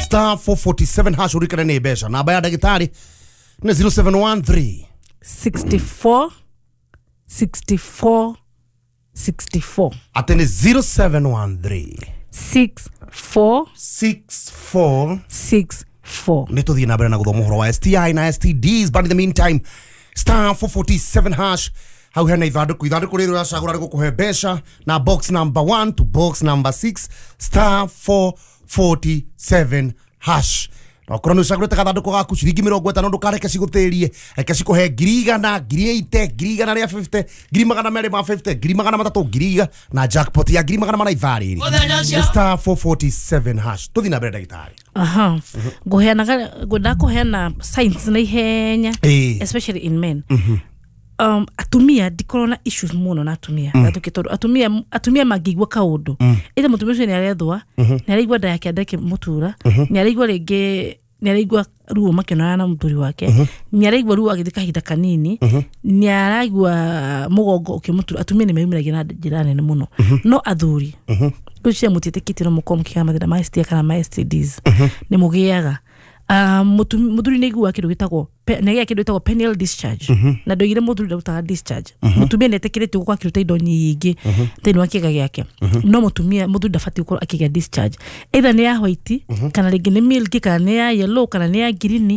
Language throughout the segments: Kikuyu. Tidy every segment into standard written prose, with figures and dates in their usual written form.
Star 447 hash urikane nĩ mbeca. Namba ya ndagĩtarĩ nĩ 0713 64 64 64. Atĩ nĩ 0713 64 64 64. Nĩ tũthiĩ na mbere na gũthoma ũhoro wa STI na STDs, but in the meantime, star 447 hash, hau hena ithandũkũ, ithandũkũ rĩrĩ ũracagũra rĩgũkũhe mbeca na box number 1 to box number 6, star 447 hash. Na okorwo nĩ ũcagũrĩte gathandũkũ gaku, ciringi 50 ndũkareke cigũthĩrie, reke cikũhe 100,000, 80,000, 150,000, 250,000, 300,000, 100,000 na jackpot ya 400,000 ithaa rĩrĩ. Star 447 hash. Tũthiĩ na mbere, ndagĩtarĩ. Aha, ngũheanaga, ngwendaga kũheana signs na ihenya, especially in men. Atumia ndikorwo na issues mũno na atumia gatũke, tondũ atumia mangĩigua kaũndũ, either mũtumia ũcio nĩ arethwa, nĩ araigua nda yake ndĩkĩmũtura, nĩ araigua rĩngĩ nĩ araigua ruo makĩonana na mũthuri wake, nĩ araigua ruo agĩthiĩ kahinda kanini, nĩ araigua mũgongo ũkĩmũtura, atumia nĩ meyumĩragia na njĩra nene mũno. No athuri, ngwĩciria mũtiĩtĩkĩtie no mũkorwo mũkĩgĩa mathĩna ma STI kana ma STDs, nĩ mũgĩaga. Mũthuri nĩ aiguaga kĩndũ gĩtagwo nĩ agĩaga kĩndũ gĩtagwo penile discharge, na ndoigire mũthuri ndarutaga discharge. Mũtumia nĩ etĩkĩrĩtio gũkorwo akĩruta indo nyingĩ thĩinĩ wa kĩga gĩake, no mũtumia, mũthuri ndabatiĩ gũkorwo akĩgĩa discharge, either nĩ ya white, kana rĩngĩ nĩ milky, kana nĩ ya yellow, kana nĩ ya green.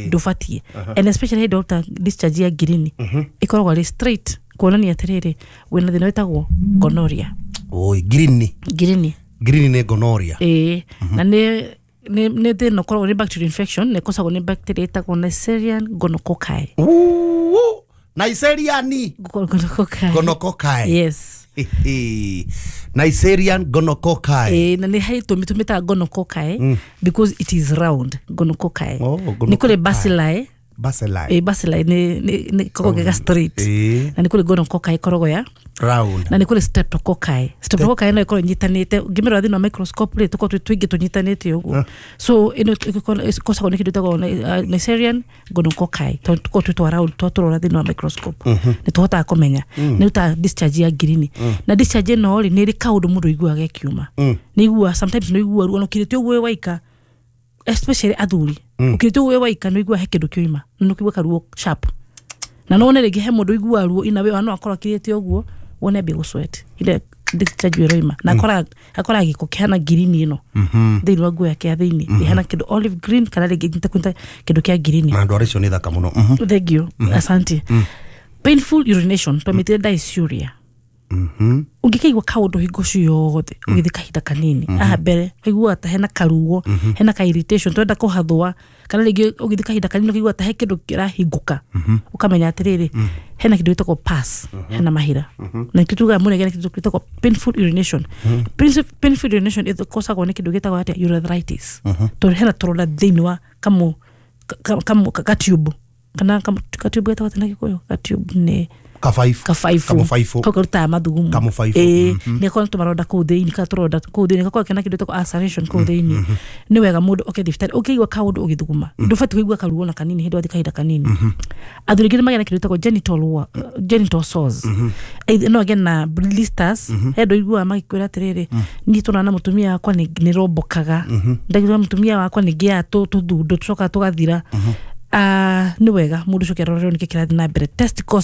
Ndũbatiĩ, and especially hĩndĩ waruta discharge ya green, ĩkoragwo arĩ straight kuonania atĩrĩrĩ, wĩna thĩna wĩtagwo gonorrhea. Oi, green? Green. Green nĩ gonorrhea? Ĩĩ, na nĩ thĩna ũkoragwo nĩ bacterial infection, na ĩkosagwo nĩ bacteria ĩtagwo Neisseria gonococci. Uu, Neisseria Gonococci. Gonococci. Yes. Neisseria gonococci. Ĩĩ, na nĩ harĩ tũmi tũmĩtaga gonococci because it is round, gonococci. Oh, nĩ kũrĩ gonococci. Bacilli. Bacilli. Ĩĩ, bacilli nĩ koragwo gega straight. Na nĩ kũrĩ gonococci ĩkoragwo ya round. Na nĩ kũrĩ streptococci. Streptococci no ĩkorwo ĩnyitanĩte, ũngĩmĩrora thĩinĩ wa microscope rĩ, tũkorwo twĩ tũingĩ tũnyitanĩte ũguo. So ĩno ĩkosagwo nĩ kĩndũ ĩtagwo Neisseria gonococci, tondũ tũkorwo twĩ twa round, twatũrora thĩinĩ wa microscope nĩ tũhotaga kũmenya. Nĩ rutaga discharge ya green, na discharge ĩno rĩ, nĩ ĩrĩ kaũndũ mũndũ aiguaga ĩkiuma. Nĩ iguaga sometimes, nĩ iguaga ruo ona ũkirĩte ũguo wĩ waika, especially athuri, ũkirĩte ũguo wĩ waika nĩ ũiguaga he kĩndũ kĩoima, na nĩ ũkũigua karuo sharp. Na no wone rĩngĩ he mũndũ ũiguaga ruo ina we no akorwo akirĩte ũguo, wone ambie gũsweat ile discharge ĩroima, na akora gĩko kĩhana green ĩno thĩinĩ wa nguo yake ya thĩinĩ, ĩhana kĩndũ olive green, kana rĩngĩ nĩta kĩndũ kĩa green. Na ndwara icio nĩ thaka mũno. Thank you, asante. Painful urination, twamĩtire dysuria. Ũngĩkaigua kaũndũ hingo ciothe ũgĩthiĩ kahinda kanini aha mbere, ũkaigua ta hena karuo, hena ka irritation, twenda kũhathũa, kana rĩngĩ ũgĩthiĩ kahinda kanini ũkaigua ta he kĩndũ kĩrahingũka, ũkamenya atĩrĩrĩ, hena kĩndũ gĩtagwo pus, hena mahira. Na nĩkĩo tugaga mũndũ agĩa na kĩndũ gĩtagwo painful urination. Painful urination ĩkosagwo nĩ kĩndũ gĩtagwo atĩa? Urethritis, tondũ hena tũronda thĩinĩ wa kamũ kamũ ka tube, kana ka tube getagwo atĩa na Gĩkũyũ? Ka tube nĩ Kabaibu. Kabaibũ. Kamũbaibũ. Kau karutaga mathugumo. Kamũbaibũ. Ĩĩ, nĩ gakorwo na tũmaronda kũu thĩinĩ, kana tũronda kũu thĩinĩ, gakorwo kena kĩndũ gĩtagwo ulceration kũu thĩinĩ. Nĩ wega mũndũ oke thibitarĩ ũkĩigua kaũndũ ũgĩthuguma. Ndũbatiĩ kũigua karuo na kanini hĩndĩ wathiĩ kahinda kanini. Athuri aingĩ nĩ magĩa na kĩndũ gĩtagwo genital sores. Either no agĩe na blisters. He andũ ũiguaga magĩkwĩra atĩrĩrĩ, niĩ tũrona na mũtumia wakwa nĩ rombokaga, ndagĩra mũtumia wakwa nĩ ngĩaga tũthundo tũcokaga tũgathira. Ah, nĩ wega mũndũ ũcoke arorerwo nĩkĩ kĩrathiĩ na mbere. Testicles.